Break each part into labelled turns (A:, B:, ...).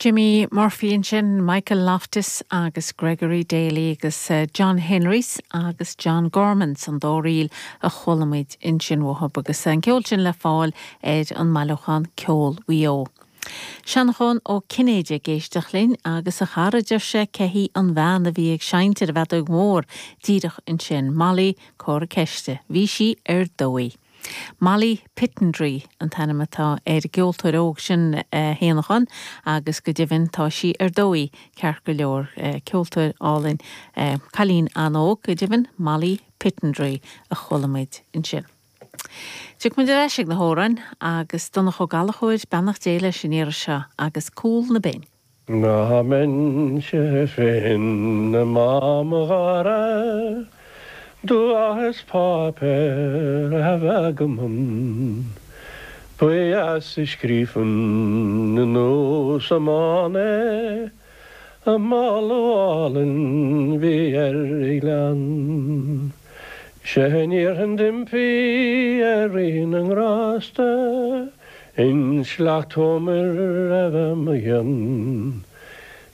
A: Jimmy Murphy ansin, Michael Loftus agus Gregory Daly agus John Henrys agus John Gorman san dá ríl a chuala muid ansin uathub agus an ceol sin le fáil ar an mbailiúchán Ceol Mhaigh Eo. Seanchán Ó Cinnéide ag éisteacht linn agus a chara deir sé cé hí an bhean a bhí ag seinnt ar an bhfeadóig mhór díreach ansin, Molly comhartha ceiste. Bhí sí ar dóigh. Molly Pittendrigh an t-ainm atá ar an gceoltóir óg sin, a Shéanacháin, agus go deimhin tá sí ar dóigh ceart go leor. Ceoltóir álainn, cailín an-óg go deimhin, Molly Pittendrigh a chuala muid ansin. Tiocfaidh muid ar ais ag na hamhráin agus Donncha Ó Gallchóir, beannacht Dé leis an iarraidh seo agus Cúl na Binne.
B: Dá mbeinnse féin i mo dhara Do is páipéar a bheith agam Ba dheas a scríobhfainn anuas amháin é A moladh álainn bhí ar a ghleann 'Sé an iarrfainn d'impí ar Rí na nGrásta In sleacht Homer a bheith mo chionn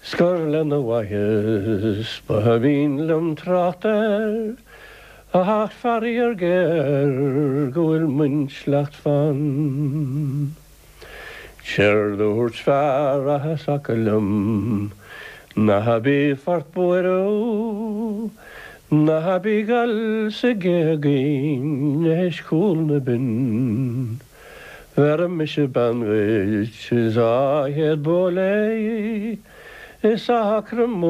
B: 'S gur lena mhaitheas ba mhian liom trácht air Ach faraor géar go bhfuil m'intleacht fann. Séard a dúirt fear as Acaill liom Ná bí fort buaireamh, Ná bí 'goil sa ghéagaín théis Chúl na Binne. Bhéarfaidh mise bean dhuit is á chéad bó léi is acra móna.